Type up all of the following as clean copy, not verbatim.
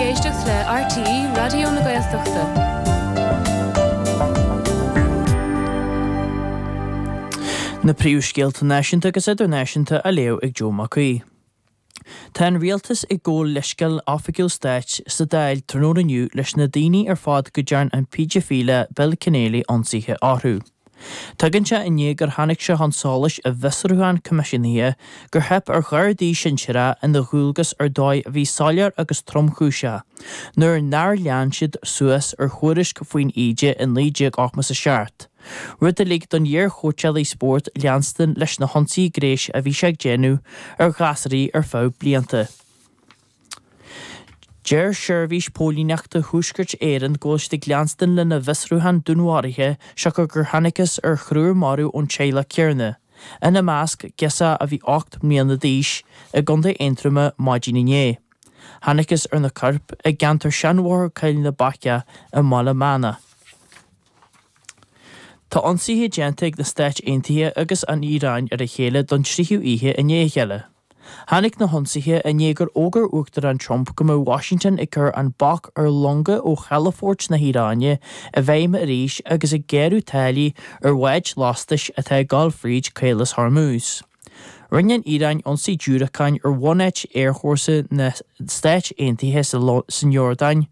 ag éisteacht le RTÉ Raidió na Gaeltachta. Na príomhscéalta náisiúnta agus idirnáisiúnta á léamh ag Joe Mac Aoidh. Tá an Rialtas ag gabháil leithscéal oifigiúil stáit sa Dáil tráthnóna inniu leis na daoine ar fad go dtearn an péidifileach Bill Kenneally ionsaithe orthu. Tagann sé i ndiaidh gur tháinig sé chun solais i bhfiosrúchán coimisiúnaithe gur theip ar ghardaí sinsearacha ina ndualgas ar dóigh a bhí soiléir agus tromchúiseach nuair nár lean siad suas ar thuairisc faoin íde i 1987, rud a lig don iar-chóitseálaí spóirt leanstan leis na hionsaithe gnéis a bhí sé ag déanamh ar ghasúraí ar feadh blianta. Deir Seirbhís Póilíneachta Thuaisceart Éireann go bhfuil siad ag leanstan lena bhfiosrúchán dúnmharaithe siocair gur thángthas ar thriúr marbh ón teaghlach céanna, ina measc girseach a bhí 8 mbliana d'aois, i gContae Aontroma maidin inné. Thángthas ar na coirp i gceantar Seanbhóthar Choill na Baice i mBaile Meanna. Tá ionsaithe déanta ag na Stáit Aontaithe agus an Iaráin ar a chéile don tríú oíche i ndiaidh a chéile. Tháinig na hionsaithe i ndiaidh gur fhógair Uachtarán Trump go mbeadh Washington ag cur an bac ar longa ó chalafoirt na hIaráine i bhfeidhm arís agus ag géarú táillí ar bháid lastais atá ag dul fríd Caolas Hormuz. Rinne an Iaráin ionsaí diúracáin ar bhunáit aerfhórsa na Stáit Aontaithe san Iordáin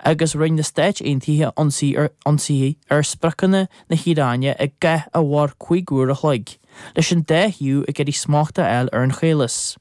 agus rinne na Stáit Aontaithe ionsaithe ar spriocanna na hIaráine i gcath a mhair 5 uair a chloig. leis an dá thaobh ag iarraidh smacht a fháil ar an chaolas.